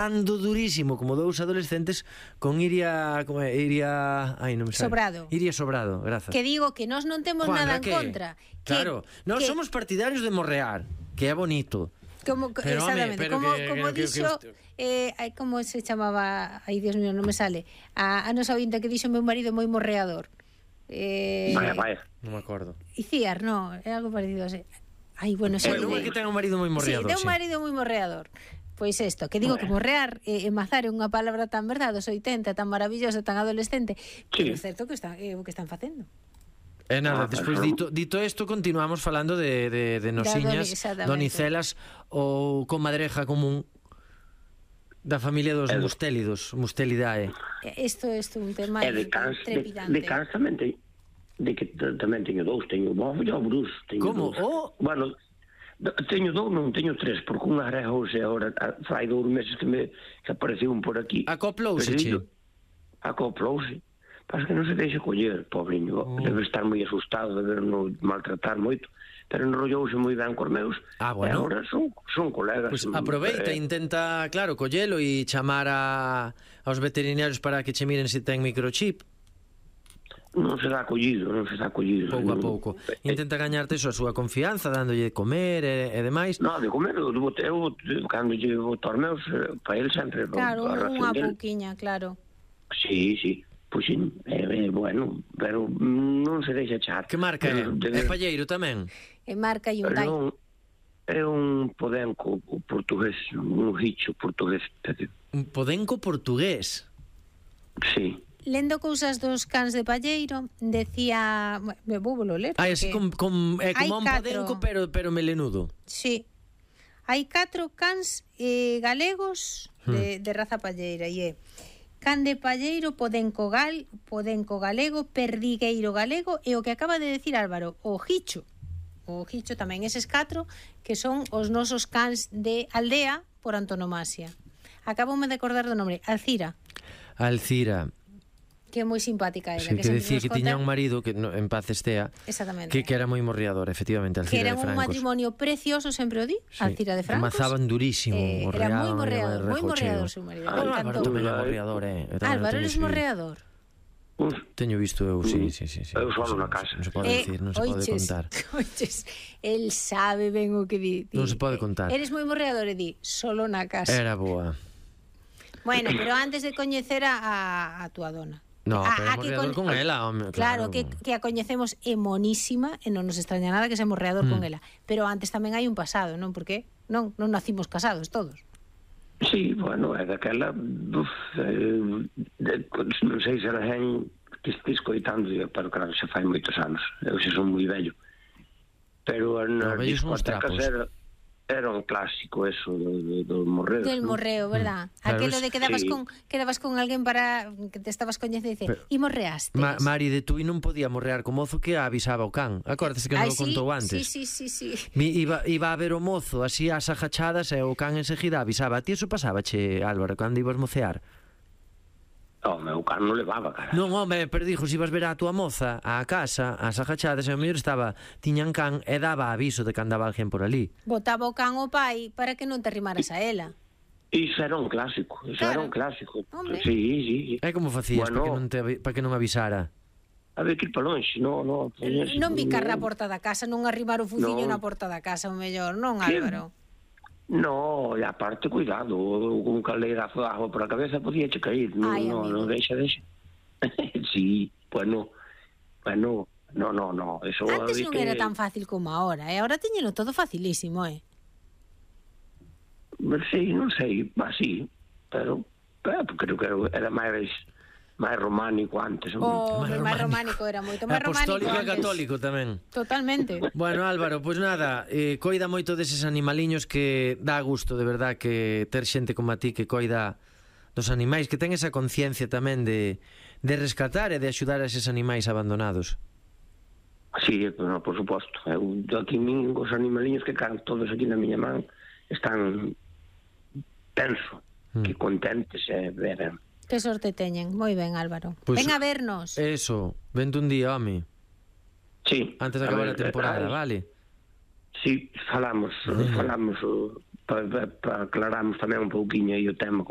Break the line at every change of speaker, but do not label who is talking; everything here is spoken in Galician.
ando durísimo como dous adolescentes con Iria, como é? Iria, ai, non me sale.
Sobrado.
Iria Sobrado, grazas.
Que digo que nós non temos
Juan,
nada en
que?
contra.
Claro, nós somos partidarios de morrear, que é bonito.
Pero, exactamente,
pero
como dixo, como se chamaba, ai Dios mío, non me sale, a nosa ointa que dixo meu marido moi morreador.
Vaya.
Non me acordo.
Iciar, no, é algo parecido así. Ai, bueno, xa
Bueno, que ten un marido moi morreador.
Sí, ten un marido moi morreador. Pois isto, que digo que morrear e mazar é unha palabra tan verdade, os 80, tan maravillosa, tan adolescente, que é certo que o que están facendo.
E nada, despois dito isto, continuamos falando de nosiñas, donicelas ou comadreja común da familia dos Mustelidae.
Isto é un tema trepidante.
De cans tamén teño dous, teño o Bofo e o Bruce.
Como?
Bueno, teño dous, non teño tres, porque unha arrejouse agora, fai 2 meses que apareceu un por aquí.
Acoplouse, che?
Acoplouse. Pasa que non se deixa coller, pobriño. Debe estar moi asustado de verno maltratar moito. Pero enrollouse moi ben cos meus.
Bueno.
E agora son colegas.
Pois aproveita, intenta, claro, collelo e chamar aos veterinarios para que che miren se ten microchip.
Non se dá collido.
Pouco a pouco. Intenta gañarte a súa confianza, dándolle de comer e demais.
Non, de comer, eu cando lle boto aos meus, para ele sempre...
Claro, unha pouquiña, claro.
Sí. Pois sí, bueno, pero non se deixa echar.
Que marca é? É palleiro tamén?
É marca Hyundai.
É un podenco portugués, un hicho portugués.
Un podenco portugués?
Sí.
Lendo cousas dos cans de palleiro, decía... Me vou ler.
Así como un podenco, pero melenudo.
Sí. Hai 4 cans galegos de raza palleira, e é can de palleiro, podenco galego, perdigueiro galego e o que acaba de decir Álvaro, o hicho. O hicho tamén, eses 4 que son os nosos cans de aldea por antonomasia. Acaboume de acordar do nome, Alcira. Que é moi simpática ela.
Sí, que decía que tiña un marido que en paz estea.
Exactamente.
Que era moi morreador, efectivamente, Alcira de Francos.
Que era un matrimonio precioso, sempre o di, Alcira de Francos.
Amazaban durísimo,
era moi morreador seu marido.
Álvaro tamén é morreador,
Álvaro, eres morreador?
Teño visto eu, sí.
Eu solo na casa.
Non se pode dicir, non se pode contar.
Oiches, el sabe ben o que di.
Non se pode contar.
Eres moi morreador e di, solo na casa.
Era boa.
Bueno, pero antes de coñecer a túa dona.
No, pero morreador con ela, home.
Claro, que a coñecemos é monísima e non nos extraña nada que sea morreador con ela. Pero antes tamén hai un pasado, non? Porque non nacimos casados todos.
Sí, bueno, é daquela non sei se era gen que estes coitando, pero claro, xa fai moitos anos. Eu xa son moi vello. Pero as discotecas era un clásico eso do morreo.
Del morreo, verdad? Aquelo de que quedabas con alguén para que te estabas coñecendo e dice, e morreaste.
Mari de Tui non podía morrear co mozo que avisaba o can. Acórdase que non o contou antes.
Sí.
Iba a ver o mozo así ás agachadas e o can enseguida avisaba. A ti eso pasaba, che, Álvaro, cando ibas mocear?
O meu can non levaba, cara.
Non, home, pero dixo, se ibas ver a túa moza á casa, ás agachadas, e o mellor tiñan can e daba aviso de que andaba alguén por ali.
Botaba o can o pai para que non te arrimaras a ela.
Iso era un clásico,
Hombre.
Sí.
E como facías para que non avisara?
Había que ir para longe, non
bicar na porta da casa, non arrimar o fuciño na porta da casa, o mellor, non, Álvaro?
No, e aparte, cuidado, un caldeirazo de agua por a cabeza podía che cair. Non, deixa. Sí, bueno, no. Eso
antes non era tan fácil como ahora, e agora teñeno todo facilísimo,
Sí, non sei, sí, pero creo que era máis románico antes.
Máis románico era moito máis románico.
Apostólico e católico tamén.
Totalmente.
Bueno, Álvaro, pois nada, coida moito deses animaliños, que dá gusto, de verdad, que ter xente como a ti que coida dos animais, que ten esa conciencia tamén de rescatar e de axudar a eses animais abandonados.
Sí, por suposto. Eu aquí os animaliños que can todos aquí na miña man están, penso, que contentes e beben.
Que sorte teñen. Moi ben, Álvaro. Ven a vernos.
Eso, vente un día, home.
Sí.
Antes de acabar a temporada, vale?
Sí, falamos, aclaramos tamén un pouquiño aí o tema, como